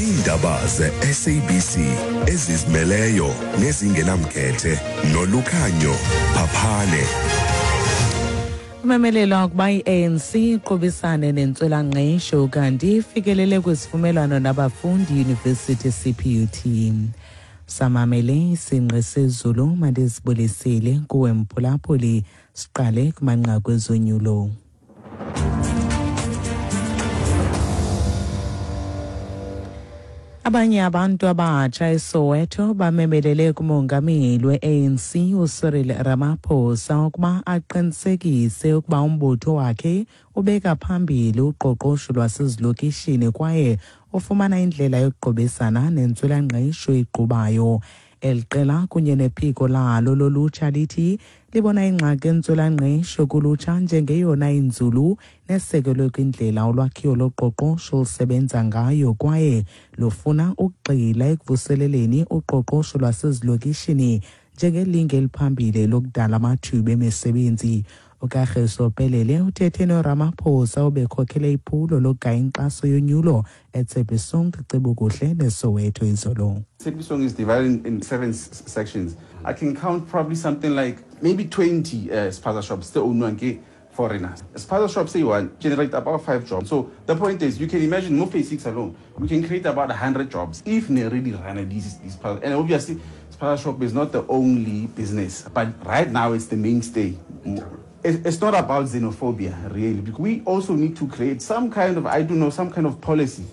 Iindaba ze-SABC ezizimeleyo nezingenamkhethe nolukhanyo Phaphane. Kumemelelwa ukuba i-ANC iqubisane nentswelangqesho kanti ifikelele kwisivumelwano nabafundi University CPUT. Samamele isingqi sezulu mandizibulisile kuwe mphulaphuli siqale kumanqaku ezonyulo. Abanye abantu abatsha eSoweto bamemelele kumongameli we-ANC uCyril Ramaphosa ukuba aqinisekise ukuba umbutho wakhe ubeka phambili uqoqosho lwasezilokishini kwaye ufumana indlela yokuqubisana nentswelangqesho egqubayo. Eli qela kunye nephiko lalo lolutsha lithi libona ingxaki entswelangqesho kulutsha njengeyona inzulu nesekelwe kwindlela ulwakhiwo loqoqosho olusebenza ngayo kwaye lufuna ukugxila ekuvuseleleni uqoqosho lwasezilokishini njengelinge eliphambili lokudala amathuba emisebenzi. uKagiso Pelele uthethe noRamaphosa obekhokhele iphulo lokugaya inkxaso yonyulo eTshepisong Cebukuhle neSoweto izolo. Tshepisong is divided in seven sections. I can count probably something like maybe 20 uh, spaza shops still owned foreigners. Spaza shops say one generate about five jobs. So the point is, you can imagine more phase six alone, we can create about 100 jobs if they really run these, these And obviously, spaza shop is not the only business, but right now it's the mainstay. It's not about xenophobia, really. Because we also need to create some kind of, I don't know, some kind of policy.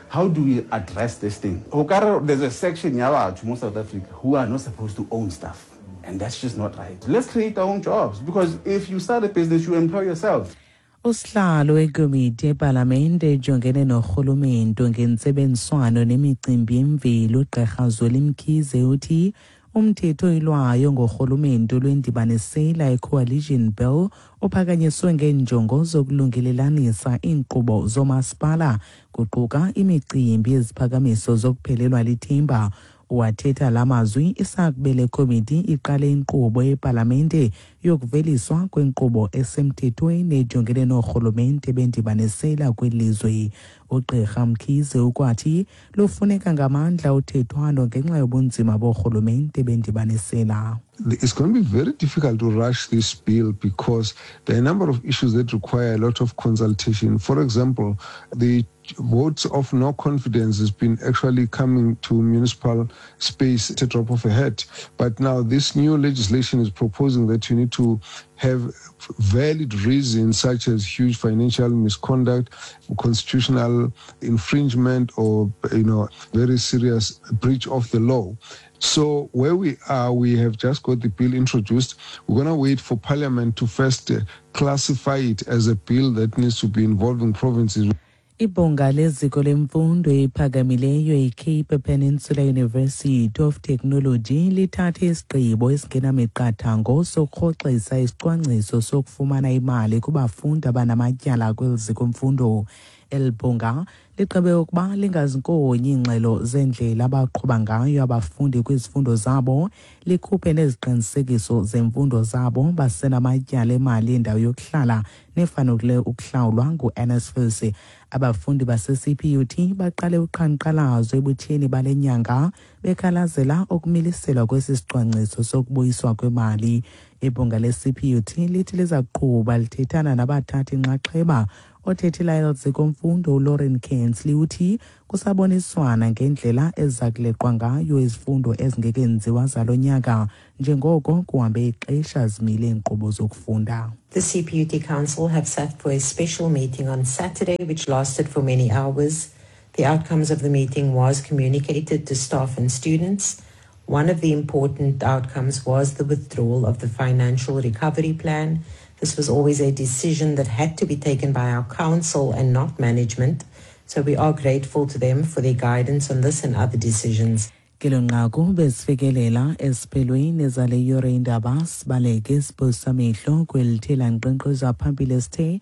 How do we address this thing? There's a section in South Africa who are not supposed to own stuff. And that's just not right. Let's create our own jobs because if you start a business, you employ yourself. Usihlalo wekomiti yepalamente ejongene norhulumento ngentsebenziswano nemicimbi yemveli ugqirha Zweli Mkhize uthi umthetho oyilwayo ngorhulumento lwendibanisela i-coalition bill uphakanyiswe ngeenjongo zokulungelelanisa iinkqubo zoomasipala kuquka imicimbi yeziphakamiso zokuphelelwa lithemba. Wathetha la mazwi isakube le komiti iqale inkqubo yepalamente yokuveliswa kwenkqubo esemthethweni ejongene noorhulumente bendibanisela kwilizwe. Ugqirha Mkhize ukwathi lufuneka ngamandla uthethwano ngenxa yobunzima boorhulumente bendibanisela. It's going to be very difficult to rush this bill because there are a number of issues that require a lot of consultation. For example, the votes of no confidence has been actually coming to municipal space at a drop of a hat. But now this new legislation is proposing that you need to have valid reasons such as huge financial misconduct, constitutional infringement, or you know very serious breach of the law. So where we are, we have just got the bill introduced. We're going to wait for Parliament to first uh, classify it as a bill that needs to be involving provinces. Ibhunga leziko lemfundo ephakamileyo iCape Peninsula University of Technology lithathe isigqibo esingenamiqathango sokurhoxisa isicwangciso sokufumana imali kubafundi abanamatyala kweli ziko mfundo. Eli bhunga ligqibe ukuba lingazinkonyi iingxelo zeendlela abaqhuba ngayo abafundi kwizifundo zabo, likhuphe neziqinisekiso zemfundo zabo basenamatyala emali yendawo yokuhlala nefanele ukuhlawulwa ngu-NSFAS. Abafundi base-CPUT baqale uqhankqalazo ebutsheni bale nyanga bekhalazela ukumiliselwa kwesi sicwangciso sokubuyiswa kwemali. Ibhunga le-CPUT lithi liza kuqhuba lithethana nabathathi nxaxheba. Othethela eli ziko mfundo uLauren Kensley uthi kusaboniswana ngendlela eziza kuleqwa ngayo izifundo ezingekenziwa zalo nyaka njengoko kuhambe ixesha zimile iinkqubo zokufunda. The CPUT Council have sat for a special meeting on Saturday, which lasted for many hours. The outcomes of the meeting was communicated to staff and students. One of the important outcomes was the withdrawal of the financial recovery plan. This was always a decision that had to be taken by our council and not management. So we are grateful to them for their guidance on this and other decisions. Kelo nqaku besifikelela esiphelweni zale yure indaba sibaleke siphosa amehlo kwelithela nkqenkqeza phambili esithe.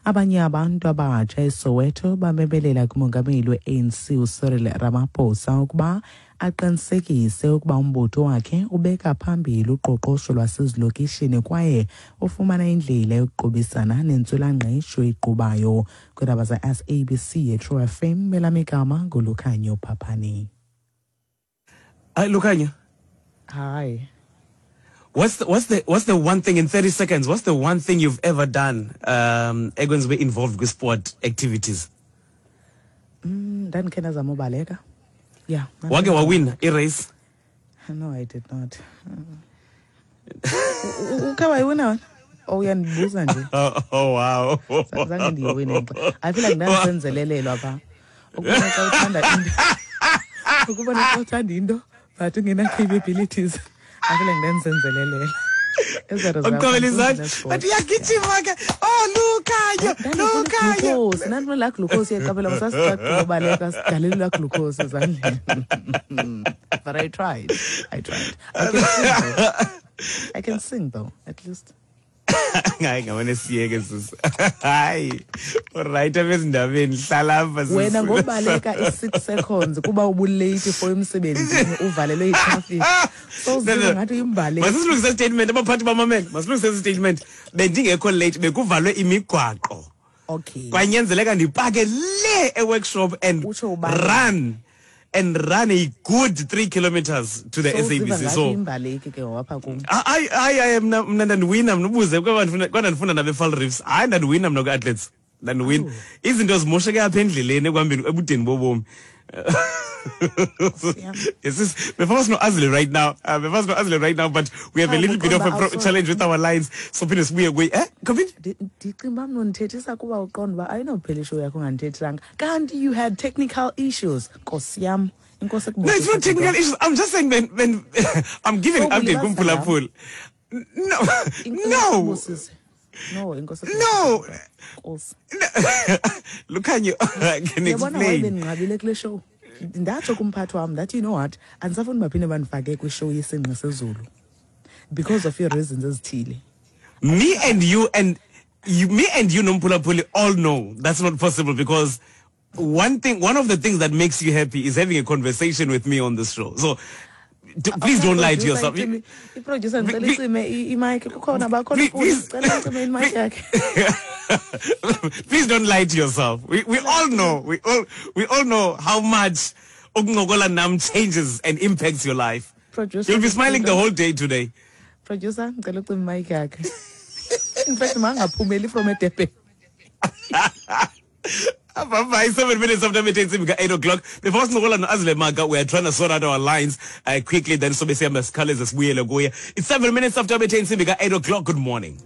Abanye abantu abatsha eSoweto bamemelela kumongameli we-ANC uCyril Ramaphosa ukuba aqinisekise ukuba umbutho wakhe ubeka phambili uqoqosho lwasezilokishini kwaye ufumana indlela yokuqubisana nentswelangqesho eqhubayo. Kwiindaba ze-SABC yeTrue FM, elam igama nguLukhanyo Phaphani. Hi, Lukhanyo. Hi. What's the one thing in 30 seconds? What's the one thing you've ever done ekwenziwe involved with sport activities? Ndandikhe ndazama ubaleka. Yeah. Wake wawina i-race? No, I did not. Ukhe wayiwina wena? Oh, uyandibuza nje. Oh wow. Zange ndiyiwine. I feel like ndandisenzelelelwa phaa. Ukubona xa uthanda into. Ukubona xa uthanda into but ungena capabilities. I feel like ndandisenzelelela. Uqhobela izandla. Bathi uyagijima ke. Oh, Lukhanyo, Lukhanyo. Glucose. Nandifuna laa glucose yeqabela sasicacile ubaleka sigalela laa glucose ezandleni. But I tried. I tried. I can sing though. I can sing though, at least. Hayi, ngamane siyeke sisi. Hayi. Alright, abezindabeni hlala apha sisi. Wena ngobaleka i-6 seconds kuba ubulate for emsebenzini, uvalelwe yitraffic. So No, no. ngathi uyimbaleki. Masisilungise statement, abaphathi bamamele. Masilungise statement. Bendingekho late, bekuvalwe imigwaqo. Kwanyanzeleka ndipake le e-workshop and Utsho ubani? run a good 3 kilometers to the So uziva SABC. ngathi So uyimbaleki ke wapha kum. Hayi hayi hayi, mna ndandiwina mna, ubuze kwaba ndifunda nabe-Vaal Reefs. Hayi, ndandiwina mna kwi-athletes, ndandiwina. Izinto zimosheke apha endleleni ekuhambeni ebudeni bobomi. Yes, before sino-Azile right now, before sino-Azile right now, but we have a Ah, little bit of a uqonda uba challenge with our lines, so phinde sibuye kuye, Kobini? Ndicinga uba mna undithethisa kuba uqonda uba ayinophela ishow yakho ungandithethisanga, kanti you had technical issues, nkosi yam, inkosi. No, it's not technical issues. I'm just saying, when I'm giving an update kumphulaphuli. No, no. No, inkosi. No. Nkosi. Lukhanyo, I can Uyabona why explain. Bendinqabile kule show, ndatsho kumphathi wam ndathi, "You know what, andisafuni baphinde bandifake kwishow yesingqi sezulu because of your reasons ezithile." Me and you nomphulaphuli all know that's not possible, because one of the things that makes you happy is having a conversation with me on this show. So please don't lie to yourself. Iproducer, ndicela icime imic, kukhona bakhona. Please. Cela icime imic yakhe. Please don't lie to yourself. We all know, we all know how much ukuncokola nam changes and impacts your life. Producer, You'll be smiling the whole day today. Producer, ndicela ucime imic yakhe. In fact, mangaphumeli from eDurban. Bye bye. 7 minutes after intsimbi 8 o'clock. Before sincokola no-Azile Maka, we are trying to sort out our lines quickly. Then sobe sihamba sikhawuleze sibuyele kuye. It's 7 minutes after intsimbi 8 o'clock. Good morning.